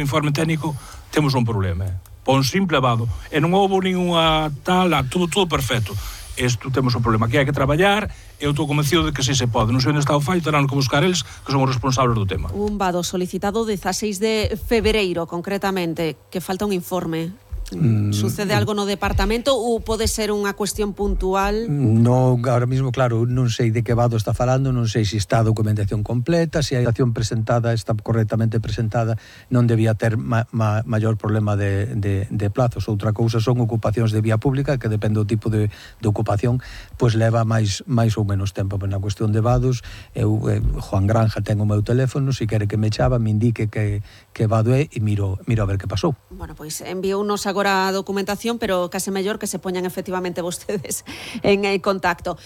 informe técnico, temos un problema. Por un simple vado. E non houve ninguna tal, tudo perfecto. Isto temos un problema que hai que traballar, e eu estou convencido de que si se pode. Non sei onde está o fallo, terán que buscar eles, que son os responsables do tema. Un vado solicitado 16 de febreiro, concretamente, que falta un informe. Sucede algo no departamento ou pode ser unha cuestión puntual? Non, ahora mismo, claro, non sei de que vado está falando, non sei se está a documentación completa, se a documentación presentada está correctamente presentada, non debía ter maior problema de plazos. Outra cousa son ocupacións de vía pública, que depende do tipo de ocupación, pois leva máis ou menos tempo. Pero na cuestión de vados, Juan Granja ten o meu teléfono, se quere que me chava, me indique que vado é e miro a ver que pasou. Bueno, pois enviounos agora a documentación, pero case mellor que se poñan efectivamente vostedes en contacto.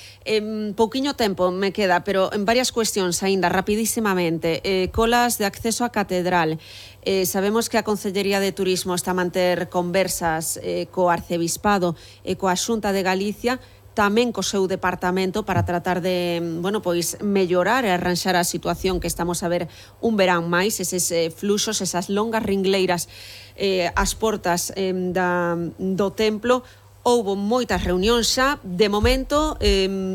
Pouquiño tempo me queda, pero en varias cuestións aínda, rapidísimamente. Colas de acceso á catedral. Sabemos que a Consellería de Turismo está a manter conversas co Arcebispado e coa Xunta de Galicia, tamén co seu departamento, para tratar de, pois mellorar e arranxar a situación que estamos a ver un verán máis, eses fluxos, esas longas ringleiras ás portas do templo. Houbo moitas reunións xa, de momento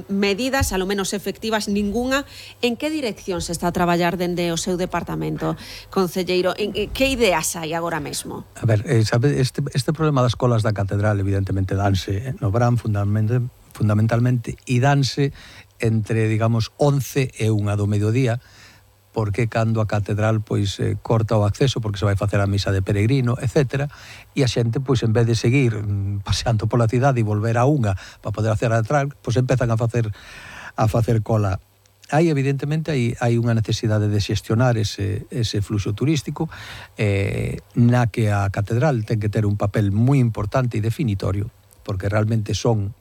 medidas, alo menos efectivas, ningunha. En que dirección se está a traballar dende o seu departamento, concelleiro? Que ideas hai agora mesmo? A ver, sabe, este problema das colas da catedral evidentemente danse no verán fundamentalmente, e danse entre, digamos, 11 e 1 do mediodía, porque cando a catedral pois corta o acceso porque se vai facer a misa de peregrino, etc. E a xente, pois, en vez de seguir paseando pola cidade e volver a unha para poder hacer a catedral, pois empezan a facer cola. Evidentemente, hai unha necesidade de xestionar ese fluxo turístico, na que a catedral ten que ter un papel moi importante e definitorio, porque realmente son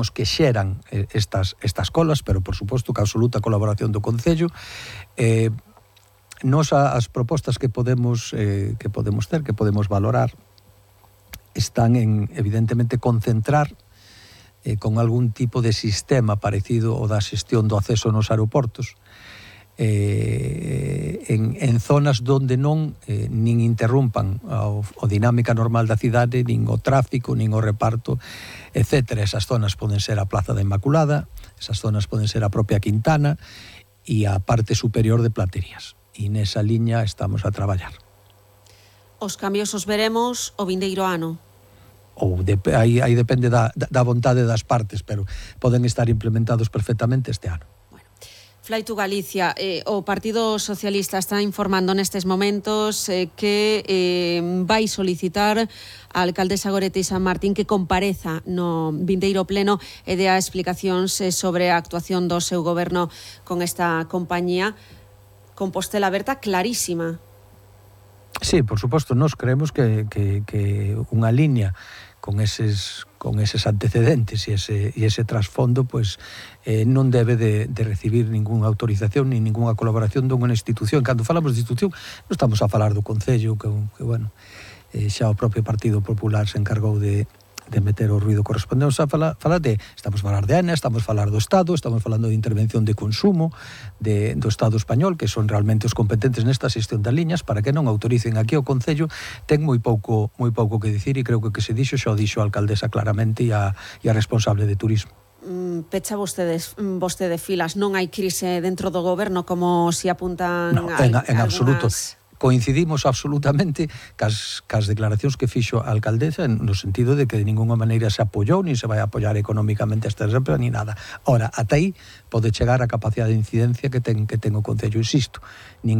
os que xeran estas colas, pero por suposto que a absoluta colaboración do Concello. Nos as propostas que podemos ter, que podemos valorar, están en, evidentemente, concentrar con algún tipo de sistema parecido ao da xestión do acceso nos aeroportos, en zonas donde non nin interrumpan a dinámica normal da cidade, nin o tráfico, nin o reparto, etc. Esas zonas poden ser a Plaza da Inmaculada, esas zonas poden ser a propia Quintana e a parte superior de Platerías. E nesa liña estamos a traballar. Os cambios os veremos o vindeiro ano? Aí depende da vontade das partes, pero poden estar implementados perfectamente este ano. Fly to Galicia, o Partido Socialista está informando nestes momentos que vai solicitar a alcaldesa Goretti San Martín que compareza no vindeiro pleno e dea explicacións sobre a actuación do seu goberno con esta compañía. Compostela Aberta clarísima. Sí, por suposto, nós creemos que unha liña con eses antecedentes e ese trasfondo, pois non debe de recibir ningunha autorización ni ningunha colaboración dunha institución. Cando falamos de institución, non estamos a falar do Concello, que xa o propio Partido Popular se encargou de meter o ruido correspondente. Estamos a falar de AENA, estamos a falar do Estado, estamos falando de intervención de consumo do Estado español, que son realmente os competentes nesta xestión das liñas, para que non autoricen aquí o Concello. Ten moi pouco que dicir, e creo que se dixo, xa o dixo a alcaldesa claramente e a responsable de turismo. Pecha vostede filas, non hai crise dentro do goberno como se apuntan en absoluto. Coincidimos absolutamente cas declaracións que fixo a alcaldesa, no sentido de que de ninguna maneira se apoiou, nin se vai apoiar económicamente esta empresa, ni nada. Ora, ata aí pode chegar a capacidade de incidencia que ten o Concello, insisto. Nin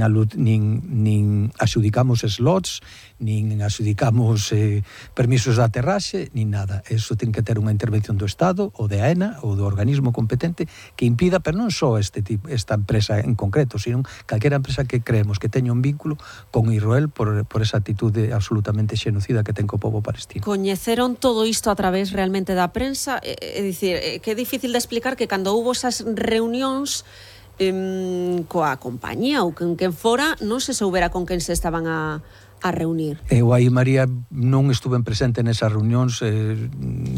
axudicamos slots, nin axudicamos permisos de aterraxe, nin nada. Eso ten que ter unha intervención do Estado, ou de AENA, ou do organismo competente, que impida, pero non só esta empresa en concreto, sino calquera empresa que creemos que teña un vínculo con Israel por esa actitude absolutamente xenocida que ten co pobo palestino. Coñeceron todo isto a través realmente da prensa? É dicir, que é difícil de explicar que cando houbo esas reunións coa compañía ou con quen fora, non se soubera con quen se estaban a reunir. Eu aí, María, non estuve presente nesas reunións,